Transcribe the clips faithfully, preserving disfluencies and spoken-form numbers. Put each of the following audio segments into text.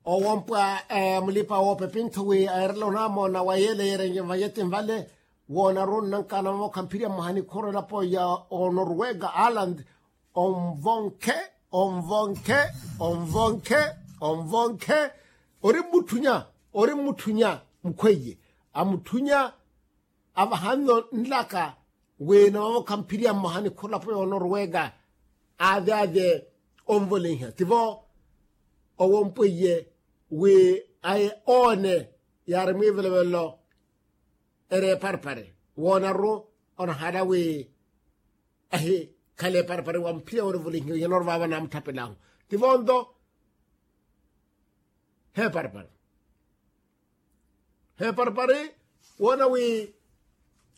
Owompwa mulipa woopepi nthu wi aerela onamoona wa yeele yeerenye vayeti nvale. Woonaru nnanka anamamokha mphirya mwaha nikhuru elapo ya onorwega aland. Onvonkhe, onvonkhe, onvonkhe, onvonkhe. Ori mmutthunya, ori mmutthunya mukhweiye. Amutthunya avaha nno nlaka wi namamokha mphirya mmoha nikhuru elapo yoonorwega. Aave aave onvoleiha tivo owompweiye wi aye oone yaari mwiivelovelo. Eri eparipari woonaru onahala wi ahikhala eparipari wa mphirya woorivulihiwa iyanoro vaava naamutthapel'ahu. Tivo nto heparipari heparipari woona wi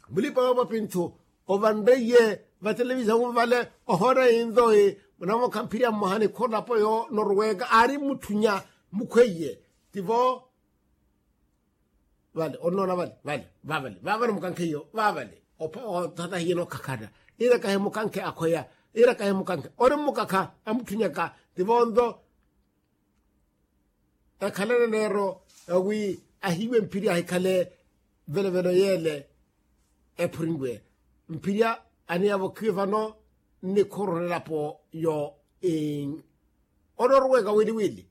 mulipa woopapi nthu ovanreiye vatelevisiyon vale. Ohoona yinto wi munamokha mphirya mmoha nikhuru elapo yoonorwega aari mmutthunya mukhweiye. Tivo vale onnoona vale vale vavale vavale mukankhe iyo vavale othata hiyeno okhakhana. Ira kahi mukankhe akhweya ira kahi mukankhe ori mmukakha amutthunyaka. Tivo nto ekhalana neero wi ahiiwe mphirya ahikhale velovelo yeele ephurinwe. Mphirya aniyavokhiwe vano nnikhuru nelapo yo onorwega wili wili.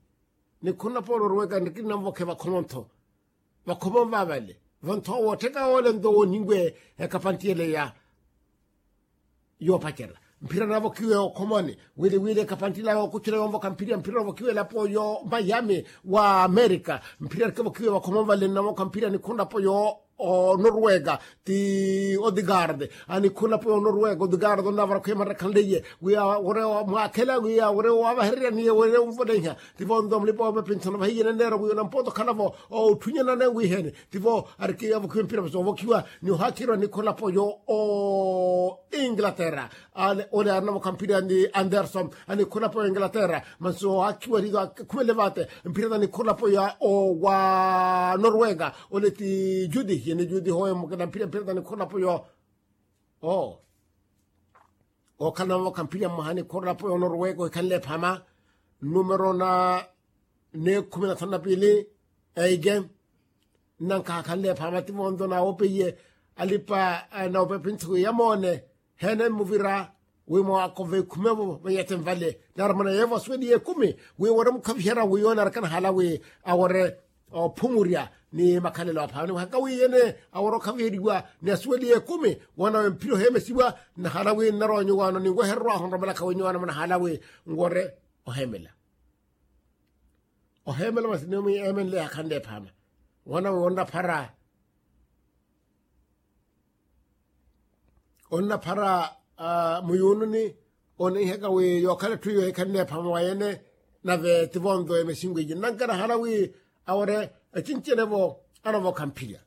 Nikhuru nelapo onorwega nrikina nvokhe vakhomontho vakhomo vavale. Vanthoowo ottheka woole nto wooninwe ekapanti yeleya yoopacerya mphira navokhiwe okhomoni wili wili ekapanti ila yookucula yoovokha mphira mphira navokhiwe elapo yo mayami wa amerika. Mphira arikevokhiwe vakhomoni vale navokha mphira nikhundapo yo onorwega ti odigard. Anikhundapo yo onorwega odigard onavarakhuye marakhanleiye wiya wore mwaakhela wiya wore wavahererya niye wore unvoleiha. Tivo nto mulipa woopepi nthuna vahiyene neero wiya onampoota okhalavo otthunyana ne wiheni. Tivo arikiyavokhiwa empira vasi ovokhiwa ni ohakhirwa nikholapo yo o inglaterra. Ole arinavokha mpira ni anderson anikholapo yo inglaterra. Mansi ohakhirwa ri akhumele vate mpira na nikholapo ya o wa norwega. Ole ti judi yene judi hoye mukina mpira mpira na nikholapo yo o okhala navokha mphirya mmoha nikhurulapo yoonorweka ohikhanle ephama. Numero na neekhumi na thanu na piili eike nnankaha akhanle ephama ti vonto naawopeiye alipa nawopepi nthuku yamoone. Heene mmuvira wi mwaakova ekhumevo vanyete nvale naari mwana yeevo asuweliye ekumi wi wore mukhaviherya wi yoone arikana hala wi awore ophumurya ni makhalelo aphama ni wahaka wiyene awore okhaviheriwa ni asuweliye ekumi. Wanawe mphira oheemesiwa nnahala wi nnarowa nyuwaano ninwehererwahu nromelaka wi nyuwaano munahala wi nwore oheemela oheemela masi ni mwi eemenle yakhanle ephama. Wanawe onnaphara onnaphara muyuununi oneihaka wi yookhala etthu iyo ehikhanle ephama wa yene. Nave ti vonto emesinweiye nnanka nahala wi awore ecincenevo anavokha mphirya.